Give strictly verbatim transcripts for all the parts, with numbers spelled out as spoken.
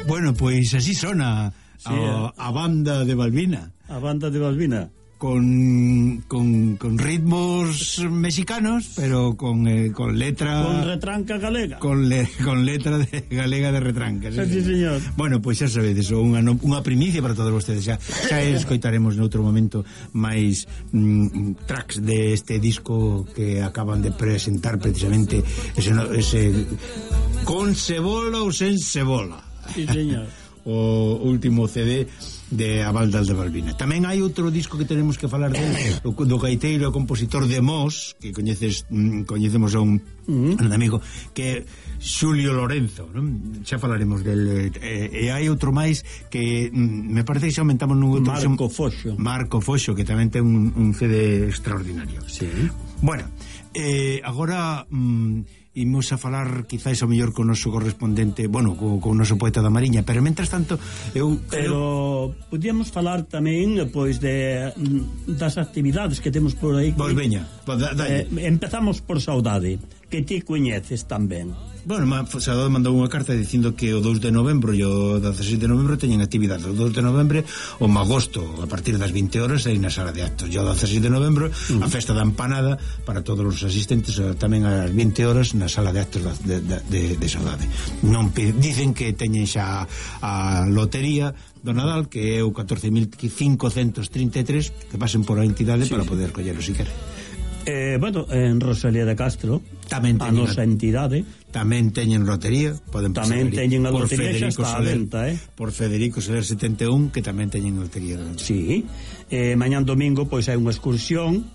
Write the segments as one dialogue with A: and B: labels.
A: Bueno, pois así sona
B: sí,
A: a, a banda de Balbina.
B: A banda de Balbina.
A: Con, con, con ritmos mexicanos, pero con, eh, con letra...
B: Con retranca galega.
A: Con, le, con letra de, galega de retranca.
B: Sí, sí, señor.
A: Bueno, pois xa sabedes, unha, unha primicia para todos vostedes. Xa, xa escoitaremos noutro momento máis mm, tracks deste disco que acaban de presentar precisamente ese, ese con cebola ou sen cebola.
B: Sí, señor.
A: O último C D de A Banda de Balbina. Tamén hai outro disco que tenemos que falar del, do, do gaiteiro e compositor de Mos, que coñeces, mm, coñecemos a un, uh-huh. un amigo que é Xulio Lorenzo, non? Xa falaremos del, e, e hai outro máis que mm, me parece que xa aumentamos nun outro
B: Marco Foxo.
A: Marco Foxo, que tamén ten un, un C D extraordinario.
B: Sí.
A: Bueno, eh, agora mm, imos a falar quizás ao mellor con o noso correspondente, bueno, co, co noso poeta da Mariña, pero mentras tanto eu
B: pero creo... podíamos falar tamén pois de das actividades que temos por aí.
A: Pois veña,
B: eh, empezamos por Saudade, que ti coñeces tamén.
A: Bueno, Saudade mandou unha carta dicindo que o dous de novembro e o dezasete de novembro teñen actividade. O dous de novembro o magosto a partir das vinte horas aí na sala de actos. E o dezasete de novembro uh-huh. a festa da empanada para todos os asistentes tamén ás vinte horas na sala de actos de, de, de, de Saudade. Non dicen que teñen xa a lotería do Nadal, que é o catorce mil cincocentos trinta e tres, que pasen por a entidade sí, para poder collelo si quere.
B: Eh, bueno, en Rosalía de Castro
A: tamén
B: a nosa entidade
A: tamén teñen lotería, poden
B: tamén teñen a lotería xa está a venta, eh?
A: por Federico Soler setenta e un, que tamén teñen lotería.
B: Sí, eh, mañán domingo pois hai unha excursión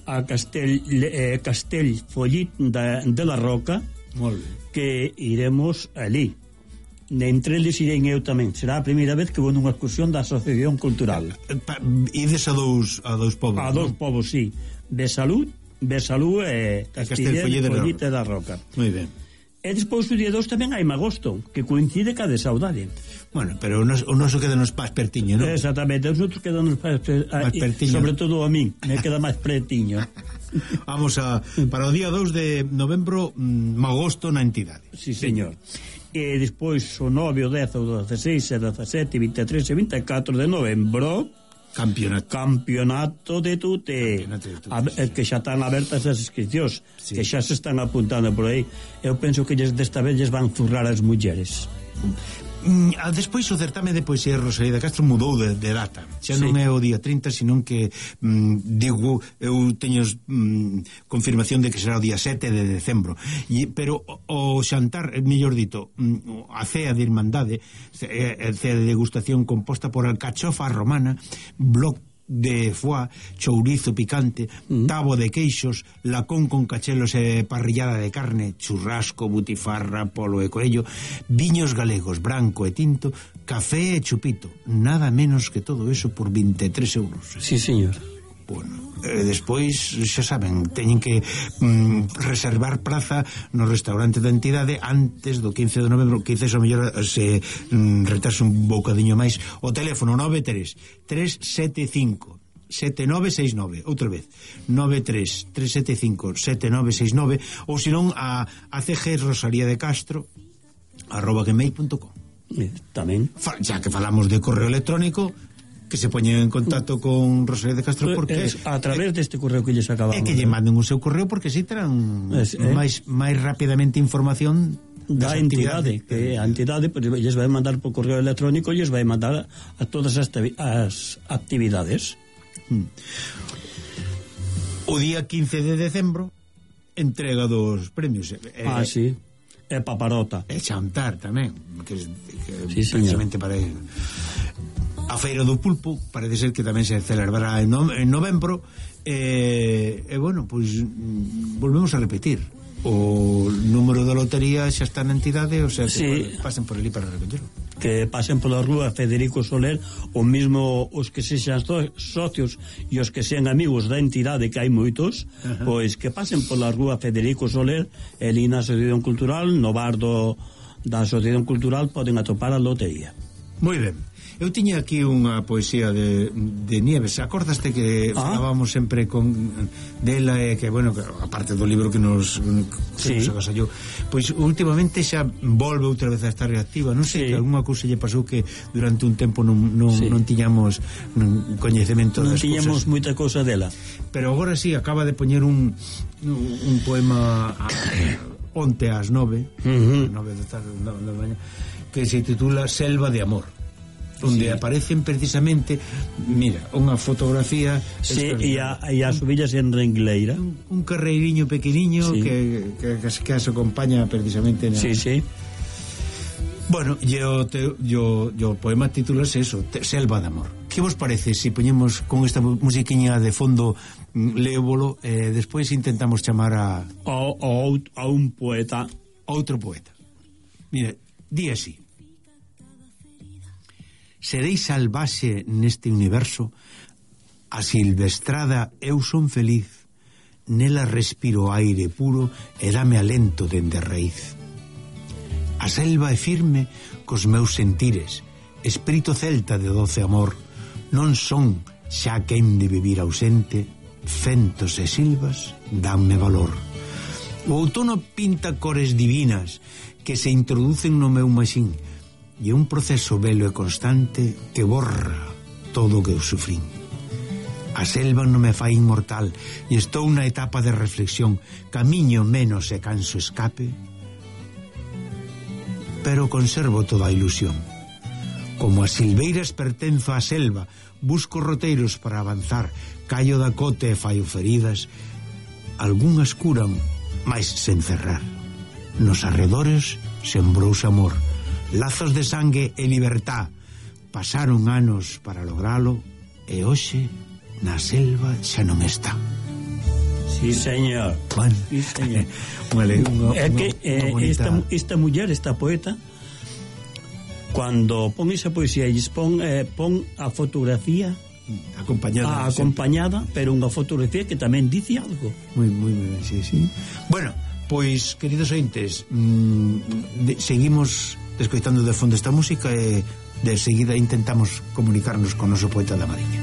B: a Castell, eh, Castell Follit de, de la Roca.
A: Molt ben.
B: Que iremos ali. Entre eles irei eu tamén. Será a primeira vez que vou nunha excursión da Asociación Cultural.
A: Ides a dous, a dous povos,
B: a dous povos, sí. Besalú, Besalú e Castell Follit de la Roca.
A: Moi ben.
B: E despois o día dos tamén hai magosto, que coincide ca de Saudade.
A: Bueno, pero o noso, o noso queda nos pás pertiño, non?
B: Exactamente, os outros quedan nos pás pertiño. Sobre todo a min, me queda máis pertiño.
A: Vamos a, para o día dous de novembro, mmm, magosto na entidade.
B: Sí, señor. E despois o nove, o dez, o dezasseis, o dezasete, vinte e tres e vinte e catro de novembro
A: Campeonato.
B: Campeonato de Tute.
A: Campeonato de Tute.
B: A, sí. Que xa están abertas as inscripcións, sí. Que xa se están apuntando por aí. Eu penso que desta vez lles van zurrar as mulleres.
A: Mm, despois o certame de poesía de Rosalía de Castro mudou de, de data. Xa non sí. É o día trinta, senón que mm, digo, eu teño mm, confirmación de que será o día sete de decembro. E, pero o, o xantar, mellor dito, mm, a cea de Irmandade, a cea de degustación composta por alcachofa romana, bloc de foie, chourizo picante, mm. tabo de queixos, lacón con cachelos e parrillada de carne, churrasco, butifarra, polo e corello, viños galegos, branco e tinto, café e chupito, nada menos que todo eso por vinte e tres euros.
B: Sí, señor.
A: Bueno, eh, despois, xa saben, teñen que mm, reservar praza no restaurante da entidade antes do quince de novembro, quince o mellor se mm, retrasa un bocadiño máis. O teléfono nove tres tres sete cinco sete nove seis nove, outra vez nove tres tres sete cinco sete nove seis nove, ou senón a, a C G Rosalía de Castro arroba gmail punto com.
B: Tamén,
A: xa que falamos de correo electrónico, que se poñen en contacto con Rosalía de Castro, porque
B: es a través deste correo que lles acabamos.
A: É que lle manden o seu correo, porque si terán es, eh? máis máis rapidamente información
B: da entidade, que a entidade pues, lles vai mandar por correo electrónico e lles vai mandar a todas as, as actividades.
A: Hmm. O día quince de decembro entrega dos premios. Eh,
B: ah, sí. É paparota.
A: É xantar tamén, que, que
B: sí,
A: precisamente para ir. A Feira do Pulpo parece ser que tamén se celebrará en, no, en novembro e, e bueno, pois volvemos a repetir, o número da lotería xa está na entidade, o sea, que
B: sí.
A: Pasen por ali para recollelo,
B: que pasen pola rúa Federico Soler, o mismo os que sexan socios e os que sean amigos da entidade, que hai moitos, uh-huh. Pois que pasen pola rúa Federico Soler e ali na Asociación Cultural, no bar do, da Asociación Cultural poden atopar a lotería.
A: Moi ben. Eu tiña aquí unha poesía de, de Nieves. Acordaste que ah. falábamos sempre con dela e que, bueno, que, aparte do libro que nos, que sí. nos agasallou, pois últimamente xa volve outra vez a estar reactiva. Non sei, sí. que algunha cousa lle pasou que durante un tempo non, non, sí. non tiñamos non, coñecemento
B: non
A: das cousas.
B: Non tiñamos moita cousa dela.
A: Pero agora sí, acaba de poñer un, un poema a, onte ás nove, uh-huh. nove da tarde, da mañá, que se titula Selva de Amor, onde sí. aparecen precisamente, mira, unha fotografía,
B: sí, e, a, e as ovillas en Rengleira,
A: un, un carreiriño pequeniño, sí. que, que, que, que as acompaña precisamente na...
B: sí, sí.
A: Bueno, yo, te, yo, yo poema titulas eso, te, Selva de Amor. Que vos parece se si poñemos con esta musiquiña de fondo lévolo e eh, despois intentamos chamar a
B: a, a un poeta,
A: outro poeta? Mira, di así: serei salvaxe neste universo, a silvestrada eu son feliz, nela respiro aire puro e dame alento dende a raíz. A selva é firme cos meus sentires, espírito celta de doce amor, non son xa quen de vivir ausente, fentos e silvas danme valor. O outono pinta cores divinas que se introducen no meu maxín, e un proceso velo e constante que borra todo o que eu sufrín. A selva non me fai inmortal e estou na etapa de reflexión, camiño menos e canso escape, pero conservo toda a ilusión. Como as silveiras pertenzo á selva, busco roteiros para avanzar, callo da cote e faio feridas, algunhas curan, mais sen cerrar. Nos arredores sembrouse amor, lazos de sangue e libertad. Pasaron anos para logralo e hoxe na selva xa non está.
B: Sí, señor.
A: Bueno,
B: sí, señor.
A: Vale, unha,
B: é que
A: unha, unha
B: eh, esta, esta muller, esta poeta, cuando pon esa poesía e pon, eh, pon a fotografía
A: acompañada,
B: a, acompañada pero unha fotografía que tamén dice algo.
A: Moi, moi ben, sí, sí. Bueno, pois, queridos ointes, mmm, de, seguimos escoitando de fondo esta música e de seguida intentamos comunicarnos con o noso poeta da Mariña.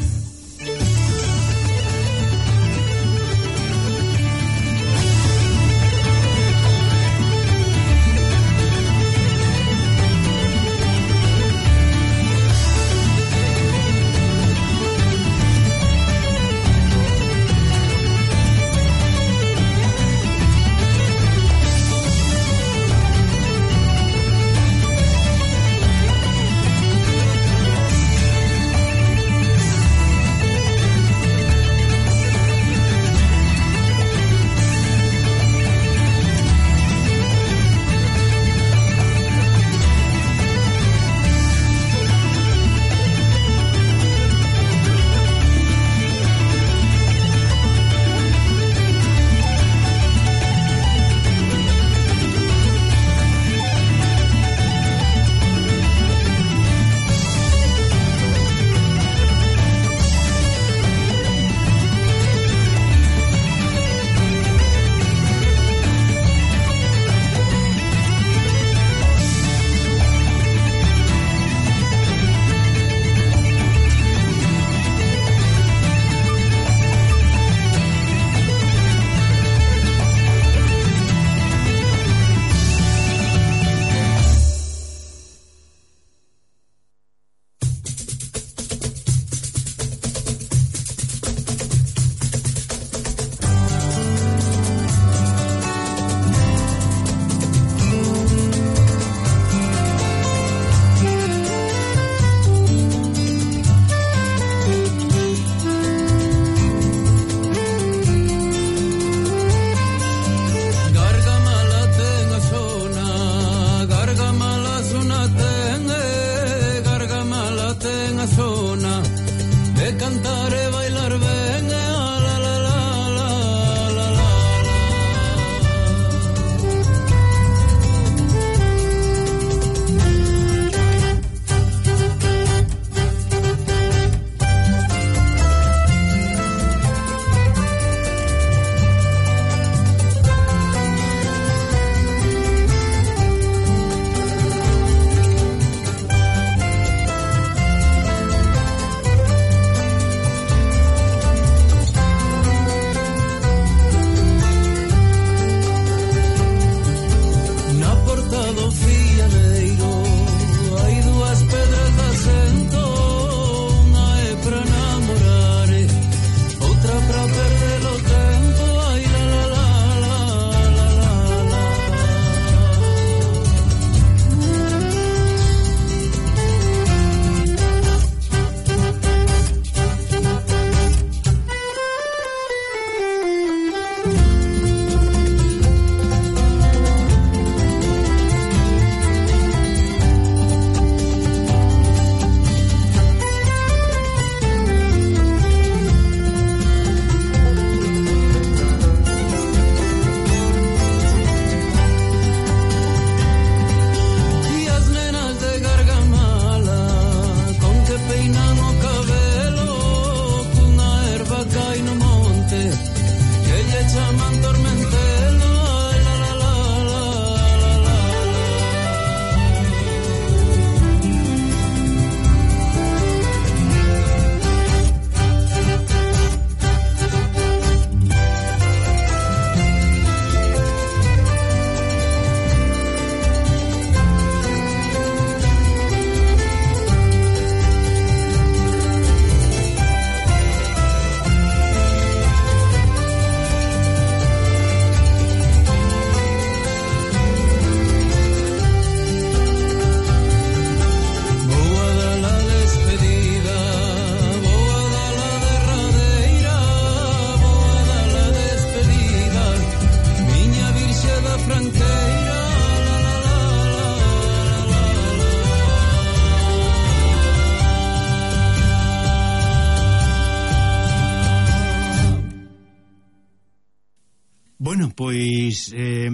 A: pois eh,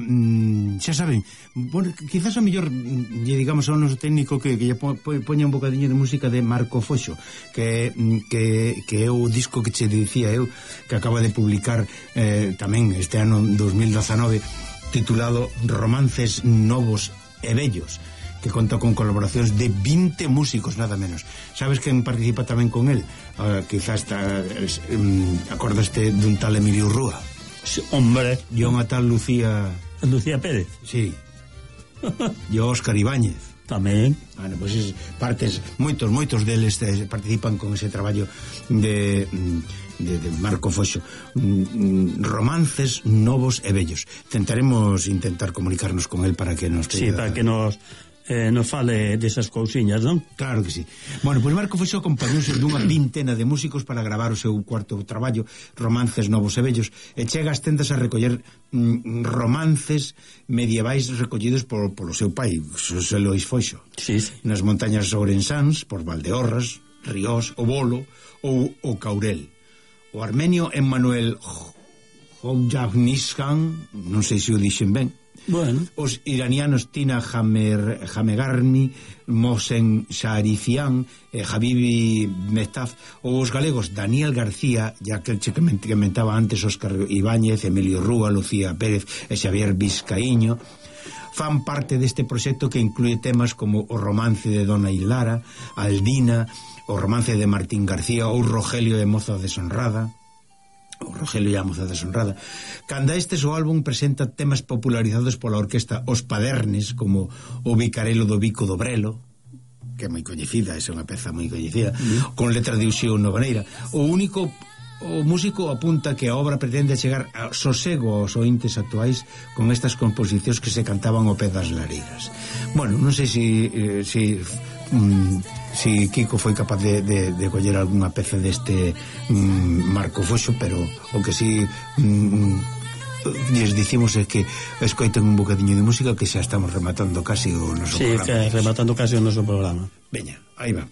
A: xa saben, bueno, quizás a mellor lle digamos ao noso técnico que, que lle po, po, poña un bocadinho de música de Marco Foxo, que, que, que é o disco que che dicía eu, que acaba de publicar eh, tamén este ano dos mil dezanove, titulado Romances Novos e Bellos, que conta con colaboracións de vinte músicos, nada menos. Sabes quen participa tamén con él? Uh, quizás está, um, acordaste dun tal Emilio Rúa?
B: Sí, hombre.
A: E unha tal Lucía...
B: Lucía Pérez.
A: Sí. E Óscar Ibáñez.
B: Tamén.
A: Bueno, pois pues partes, moitos, moitos deles participan con ese traballo de... de, de Marco Foxo, Romances Novos e Bellos. Tentaremos intentar comunicarnos con él para que nos...
B: Sí, para que nos... Eh, nos fale desas cousiñas, non?
A: Claro que sí. Bueno, pois Marco Foxo acompañouse dunha vintena de músicos para gravar o seu cuarto traballo, Romances Novos e Bellos, e chega ás tendas a recoller mm, romances medievais recollidos por, polo seu pai, Xosé Lois Foxo, sí, sí. Nas montañas ourensáns, por Valdeorras, Ríos, o Bolo ou o Caurel. O armenio Emmanuel Hojavniskan, non sei se o dixen ben. Bueno. Os iranianos Tina Hamer, Hamegarmi, Mohsen Sharifian, eh, Habibi Mehtaf, ou os galegos Daniel García, ya que che comentaba antes, Óscar Ibáñez, Emilio Rúa, Lucía Pérez e Xavier Vizcaíño, fan parte deste proxecto que inclúe temas como o romance de Dona Hilara, Aldina, o romance de Martín García ou Rogelio de Moza Deshonrada, o Rogelio e a Moza Deshonrada. Canda estes, o álbum presenta temas popularizados pola orquesta Os Padernes, como o Bicarelo do Bico do Brelo, que é moi coñecida, é unha peza moi coñecida, mm. con letra de Uxío Novaneira. O único o músico apunta que a obra pretende chegar a sosego aos ointes actuais con estas composicións que se cantaban ao pé das lareiras. Bueno, non sei se eh, si, mm, si Kiko foi capaz de, de, de coller algunha peza deste mm, Marco Foxo, pero o que si mm, lles dicimos é que escoiten un bocadiño de música, que xa estamos rematando casi o noso
B: sí,
A: programa.
B: Sí, rematando casi o noso programa.
A: Veña, aí va.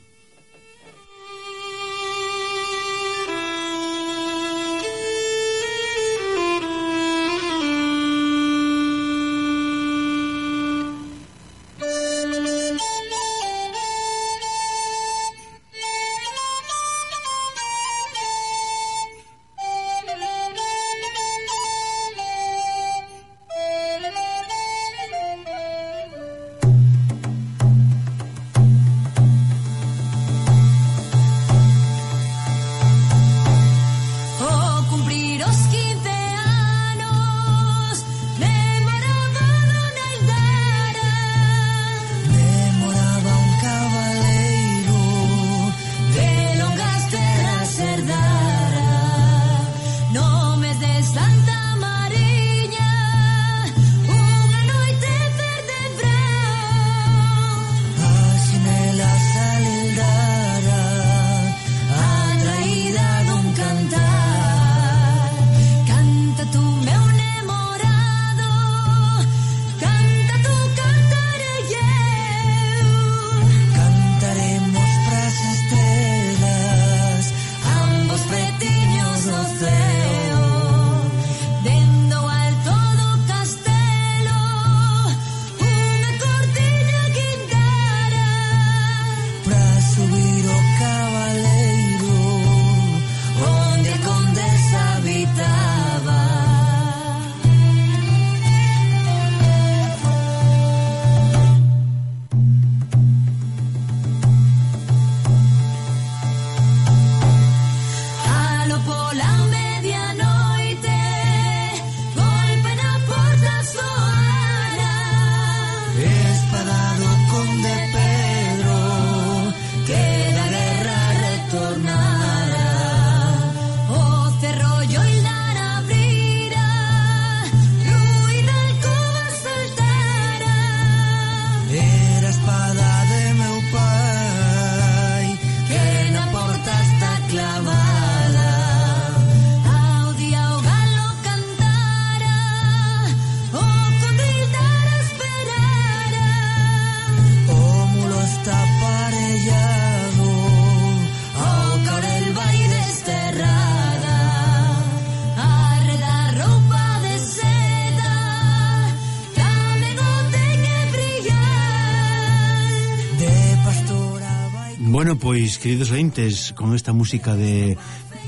A: Bueno, pois, queridos ointes, con esta música de,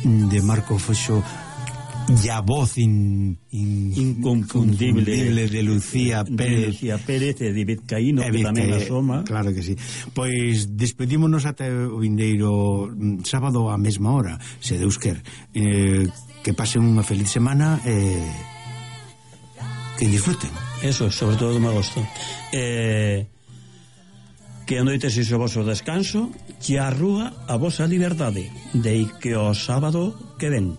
A: de Marco Foxo e a voz in, in,
B: inconfundible,
A: inconfundible de Lucía Pérez,
B: de Lucía Pérez e de Vizcaíno, que tamén asoma.
A: Claro que sí. Pois despedímonos ata o vindeiro sábado á mesma hora, se Deus quer. Eh, que pasen unha feliz semana e eh, que disfruten.
B: Eso, sobre todo me gosto. Eh, que a noite se o vosso descanso, que a rúa a vosa liberdade, de que o sábado que ven.